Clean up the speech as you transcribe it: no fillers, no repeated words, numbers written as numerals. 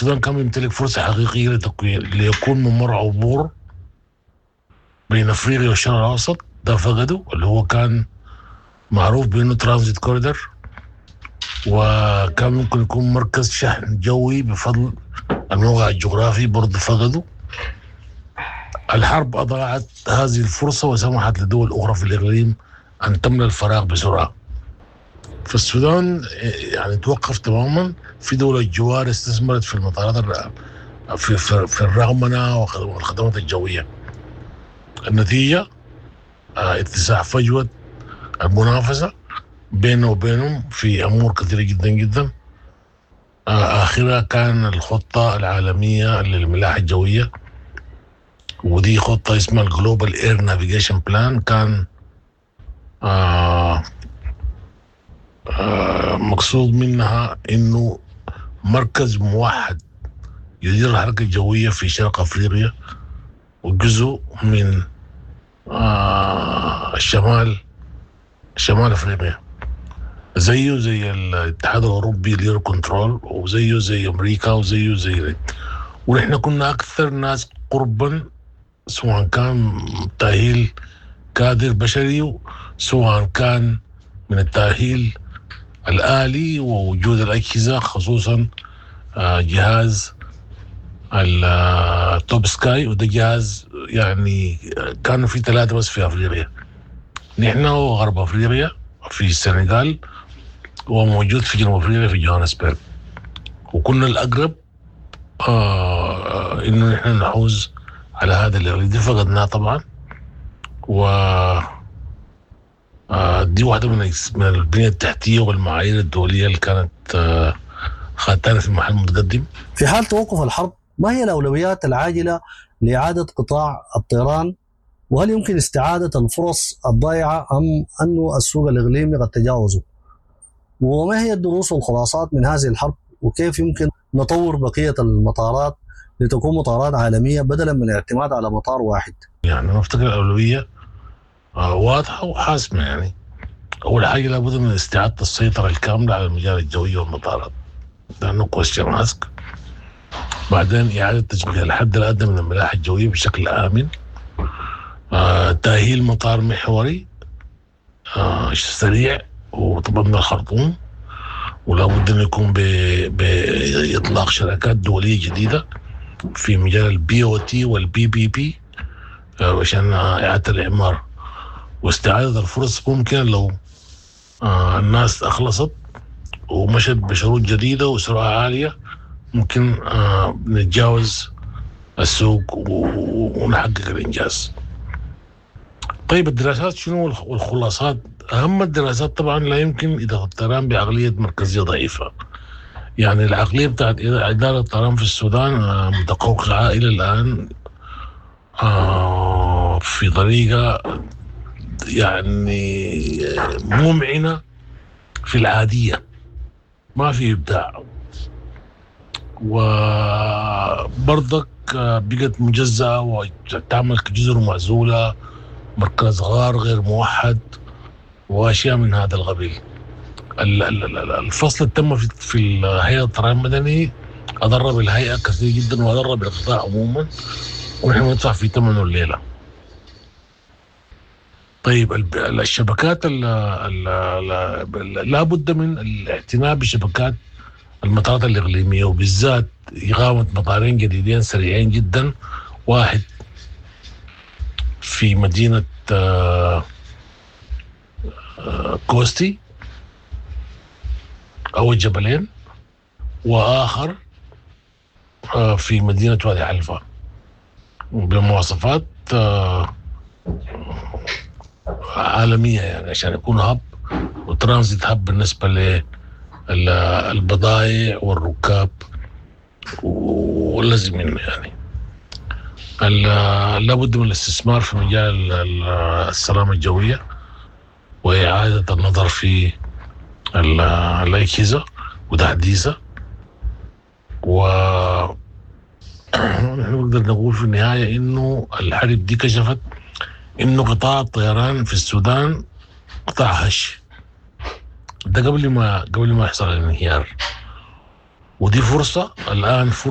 السودان كان بيمتلك فرصة حقيقية ليكون ممر عبور بين افريقيا والشرق الاوسط، ده فقده، اللي هو كان معروف بانه transit corridor، وكان ممكن يكون مركز شحن جوي بفضل الموقع الجغرافي، برضه فقده. الحرب أضاعت هذه الفرصة وسمحت لدول أخرى في الإقليم أن تملأ الفراغ بسرعة. فالسودان توقف تماما. في دول الجوار استثمرت في المطارات في الرقمنة والخدمات الجوية. النتيجة اتساع فجوة المنافسة بيننا وبينهم في أمور كثيرة جدا جدا. آخرها كان الخطة العالمية للملاحة الجوية، ودي خطة اسمها ال Global Air Navigation Plan، كان مقصود منها إنه مركز موحد يدير الحركة الجوية في شرق أفريقيا وجزء من شمال أفريقيا، زيه زي الاتحاد الأوروبي ال Eurocontrol، وزيه زي أمريكا، وزيه زي، ونحن كنا أكثر ناس قربا، سواء كان تأهيل كادر بشري، سواء كان من التأهيل الآلي ووجود الأجهزة، خصوصا جهاز التوب سكاي، وده جهاز كانوا في 3 بس في أفريقيا، نحن وغرب أفريقيا في السنغال، وموجود في جنوب أفريقيا في جوهانسبرغ، وكنا الأقرب إنه نحن نحوز على هذا الإقليم. دي فقدناه طبعا، و دي واحدة من البنية التحتية والمعايير الدولية اللي كانت خاتانة في محل متقدم. في حال توقف الحرب، ما هي الأولويات العاجلة لإعادة قطاع الطيران؟ وهل يمكن استعادة الفرص الضائعة أم أن السوق الإقليمي قد تجاوزه؟ وما هي الدروس والخلاصات من هذه الحرب؟ وكيف يمكن نطور بقية المطارات لتكون مطارات عالمية بدلا من الاعتماد على مطار واحد؟ أنا أفتكر الأولوية واضحة وحاسمة. أول حاجة لابد من استعادة السيطرة الكاملة على المجال الجوي والمطارات، لأنه question ask. بعدين إعادة تشغيل الحد الأدنى من الملاحة الجوية بشكل آمن، تأهيل مطار محوري سريع وطبعا من الخرطوم، ولا بد أن يكون بإطلاق شراكات دولية جديدة في مجال البي او تي والبي بي بي، عشان إعادة الإعمار واستعادة الفرص. ممكن لو الناس أخلصت ومشت بشروط جديدة وسرعة عالية ممكن نتجاوز السوق ونحقق الإنجاز. الدراسات شنو والخلاصات؟ أهم الدراسات طبعا لا يمكن إدارة الطيران بعقلية مركزية ضعيفة. العقلية بتاعت إدارة الطيران في السودان متقوقعة إلى الآن في طريقة ممعنة في العادية، ما في إبداع، وبرضك بقت مجزأة وتعمل كجزر معزولة، مركز غار غير موحد وأشياء من هذا القبيل. الفصل اللي تم في الهيئة الطيران المدني أضر بالهيئة كثير جدا وأضر بالقطاع عموما، ونحن ندفع في ثمنه الليلة. الشبكات لا بد من الاعتناء بشبكات المطارات الإقليمية، وبالذات إقامة مطارين جديدين سريعين جدا، واحد في مدينة كوستي أو الجبلين، وآخر في مدينة وادي حلفا، بمواصفات عالمية، عشان يكون hub و transit hub بالنسبة للبضائع والركاب واللازم منه. لابد من الاستثمار في مجال السلامة الجوية وإعادة النظر في الأجهزة وتحديثها. و نحن نقدر نقول في النهاية إنه الحرب دي كشفت إنه قطاع الطيران في السودان قطاع هش، ده قبل ما يحصل الانهيار، ودي فرصة الآن، فرصة